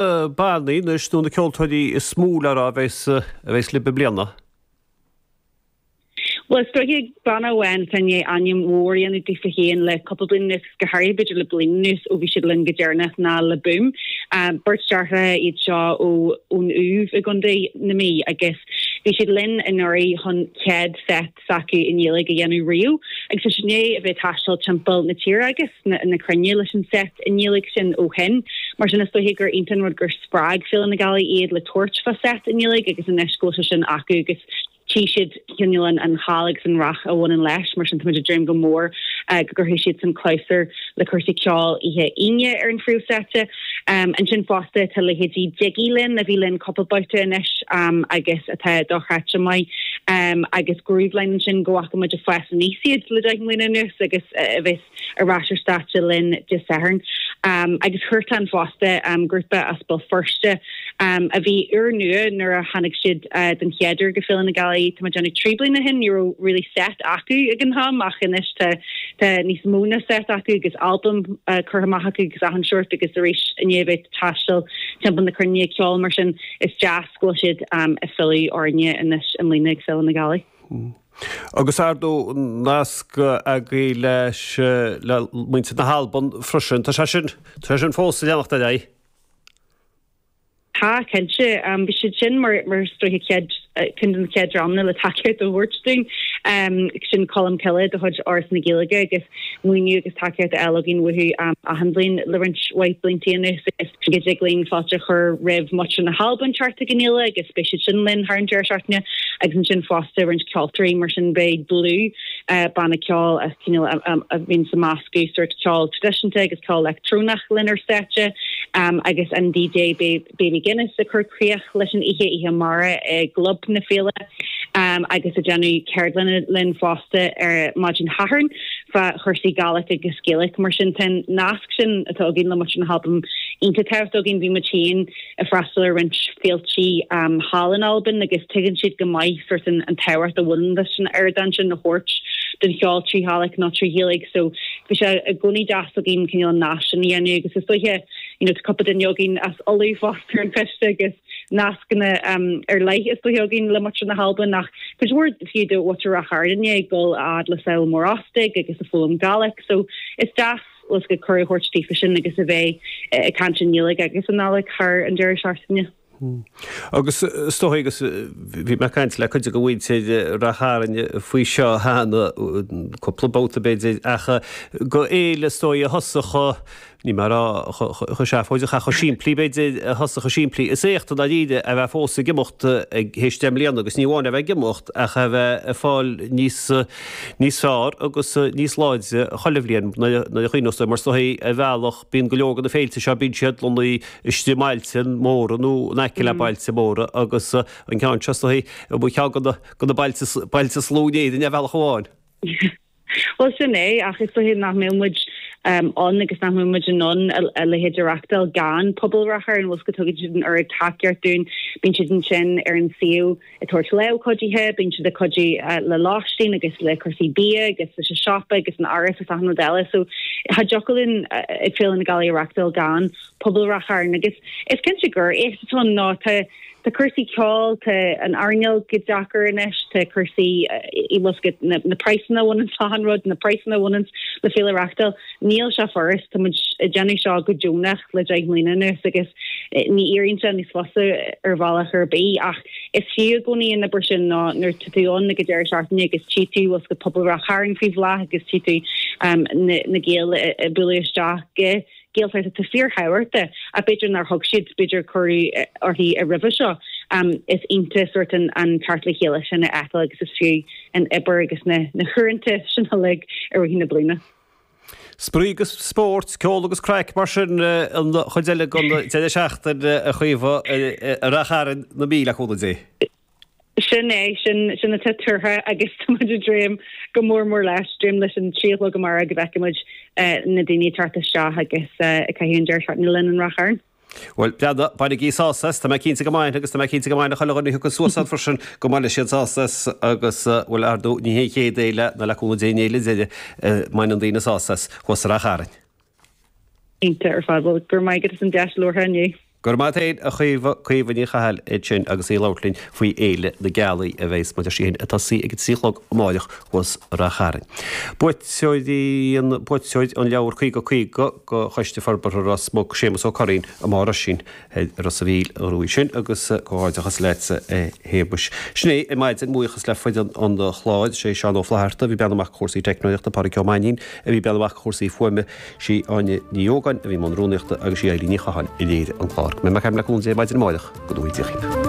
bannaí anois nó na ceoltóirí is mó le rá a bheas a bheas libh i mbliana? Bhuel, is dóiche banna amháin atá i ndiaidh ainm mhór a dhéanamh daofa féin le cúpla bliain anuas, go háirithe b'fhéidir le bliain anuas ó bhí siad linn go deireanach, ná Le Boom. Beirt deartháireacha iad seo ó ón Uaimh i gContae na Mí agus bhí siad linn anuraidh chun chéad set s'acu i nGaeilge a dhéanamh riamh agus tá siad i ndiaidh a bheith ag taisteal timpeall na tíre agus na cruinne leis an set i nGaeilge sin ó shin. Mar sin is dóiche gur iontach an rud gur spreag Féile na Gealaí iad le tabhairt fá set i nGaeilge agus anois go bhfuil sé sin acu agus tchí siad cineál an cháil agus an rath a bhaineann leis, mar sin táimid ag dréim go mór go gcuirfidh siad san clabhsúr le cúrsaí ceoil oíche Aoine ar an phríomhstáitse. Ansin fosta tá leithéidí Diggy linn, a bhí linn cúpla babhta anois agus atá dochreidte maith, agus Grooveline ansin go bhfaca muid ag fás aníos iad le 10 mbliana anuas agus a bheas ar ais ar stáitse linn Dé Sathairn. Agus Huartan fosta, grúpa as Béal Feirste a bhí úrnua nuair a tháinig siad den chéad uair go Féile na Gealaí, tá mé ag déanamh 3 bliana ó shin, ní raibh really set acu ag an am ach anois tá tá níos mó ná set acu agus albam curtha amach acu agus achan seort agus arís i ndiaidh a bheith ag taisteal timpeall na cruinne ag ceol mar sin is deas go bhfuil siad ag filleadh orainne anois i mbliana ag Féile na Gealaí. Agus ar ndóigh nasc agaibh leis le muintir na hAlban freisin. Tá sé sin, tá sé sin fós ag leanacht ar aghaidh. Tá, cinnte. Bhí siad sin mar mar is dóiche chéad ceann de na chéad dreamanna le tacaíocht a thabhairt dúinn. Sin Colmcille de chuid Fhoras na Gaeilge agus maoiniú agus tacaíocht á fháil againn uathu achan bhliain le roinnt mhaith blianta anuas agus go dtig linn fáilte a chur roimh mhuintir na hAlban teacht ag an fhéile agus beidh siad sin linn thar an deireadh seachtaine agus ansin fosta roinnt ceoltóirí mar sin beidh Blue, banna ceoil a cineál a bhíonn ag meascadh sórt ceol traidisiúnta agus ceol leictreonach linn ar stáitse agus an DJ Baby Guinness ag cur críoch leis an oíche, oíche amárach i gClub na Féile agus ag déanamh ceardlanna linn fosta ar maidin Shathairn fá chúrsaí Gàidhlig agus Gaeilge. Mar sin tá an nasc sin atá againn le muintir na hAlban iontach tábhachtach dúinn. Bhí muid féin ag freastal ar roinnt féiltí thall in Albain agus tuigeann siad go maith sórt an tábhacht a bhaineann leis an ardán sin a thabhairt don cheol trí Ghàidhlig nó trí Ghaeilge so bhí sé i gcónaí deas againn cineál an nasc sin a dhéanamh agus is dóiche you know tá cúpla duine againn as Uladh fosta ar an choiste agus nascanna ar leith is dóiche againn le muintir na hAlban ach cuid mhór fiú de mhuintir Ráth Chairn ag dul a fhad le Sabhal Mòr Ostaig agus ag foghlaim Gàidhlig so is deas bhfuil a fhios agat cuireadh a thabhairt daofa sin agus a bheith ag caint i nGaeilge agus i nGàidhlig thar an deireadh seachtaine. Agus is dóigh, agus bhí mé ag caint le cuid de mhuintir Ráth Chairn faoi seo cheana, cúpla babhta b'fhéidir, ach gur fhéile is dóigh a thosaigh chomh, níl mé ag rá chomh seafóideach ach chomh simplí b'fhéidir, a thosaigh chomh simplí. Is éacht i ndáiríre a bheith fós ag imeacht théis 10 mbliana agus ní amháin a bheith ag imeacht ach a bheith ag fáil níos, níos fearr agus níos láidre chuile bhliain nuair a chuimhneos tú air, mar is dóigh ar bhealach bíonn go leor de na féilte seo, bíonn siad lonnaithe istigh i mbailte móra nó in aice le bailte móra agus an ceann seo is dóigh mar cheann de na bailte bailte is lú in Éirinn ar bhealach amháin. Bhuel sin é, ach is dóigh nach mbeadh muid ann agus nach mbeadh muid in ann a leithéid a reachtáil gan pobal Ráth Chairn, bhfuil a fhios agat tugann siad an oiread tacaíocht dúinn, bíonn siad ansin ar an suíomh ag tabhairt lámh cuidithe, bíonn siad ag cuidiú le lóistín agus le cúrsaí bia agus leis an siopa agus an áras agus achan rud eile. So cha dtiocfadh linn ag Féile na Gealaí a reachtáil gan pobal Ráth Chairn agus is cinnte gur éacht atá ann nó tá tá cúrsaí ceoil, tá an earnáil go deacair anois, tá cúrsaí bhfuil a fhios agat na na praghsanna a bhaineann le achan rud, na praghsanna a bhaineann le féile a reachtáil, níl sé furast, tá muid ag déanamh seo go deonach le 10 mbliana anuas agus ní éiríonn sé níos fusa ar bhealach ar bith ach is fiú i gcónaí an obair sin nó nuair tá tú ann ag an deireadh seachtaine agus tchí tú bhfuil a fhios agat pobal Ráth Chairn faoi bhláth agus tchí tú na na Gaeil ag bualadh isteach go Gaeltacht atá fíorthábhachtach ach b'fhéidir nár thug siad b'fhéidir cuireadh uirthi roimhe seo. Is iontach sórt an an teacht le chéile sin a fheiceáil agus is fiú an obair agus na na huaireanta sin uilig i rith na bliana. Spraoi agus spórt, ceol agus craic mar sin an chuid eile den deireadh seachtaine a Chaoimhe i Ráth Chairn na Mí le cúnamh Dé. Sin é, sin, sin atá tuartha agus tá muid ag dréim go mór mór leis, dréim leis an 3 a chlog amárach go bhfeicfidh muid na daoine ag teacht isteach agus ag caitheamh an deireadh seachtaine linn in Ráth Chairn. Bhuel, breathnaigh, bainigí sásamh as, tá mé cinnte go mbainfidh agus tá mé cinnte go mbainfidh chuile dhuine a thiocfas suas ann freisin go mbainfidh siad sásamh as agus, bhuel, ar ndóigh, ní hé an chéad fhéile ná le cúnamh Dé an fhéile deiridh a mbaineann daoine sásamh as thuas i Ráth Chairn. Iontach ar fad. Bhuel, go raibh maith agat as an deis labhartha inniu. Go raibh maith a't féin, a Chaoimhe, Caoimhe Ní Chathail ansin agus í ag labhairt linn faoi Fhéile na Gealaí a bheas mar a deir sí féin ag tosaí ag a 3 a chlog amáireach thuas i Rath Chairn. Buaiteoirí an Buaiteoir an leabhar 50 50 go Choiste Forbartha Ros Muc, Séamus Ó Curraoin i mBarr Oisín i Ros a' Mhíl a ghnóthaigh sin agus comhghairdeachas leatsa a Shéamuis. Sin é ar maidin, buíochas le foireann an chláir, sé Seán Ó Flatharta a bhí ag breathnú amach do chúrsaí teicneolaíochta, Pádraig Ó Mainnín a bhí ag breathnú amach do chúrsaí fuaime, Sí Áine Ní Ógáin a bhí i mbun rúnaíochta agus sí Eilín Ní Chatháin a léirigh an clár. Go mbeidh mé ag caint le cúnamh Dé maidin amárach, go ngnóthaí Dia dhaoibh.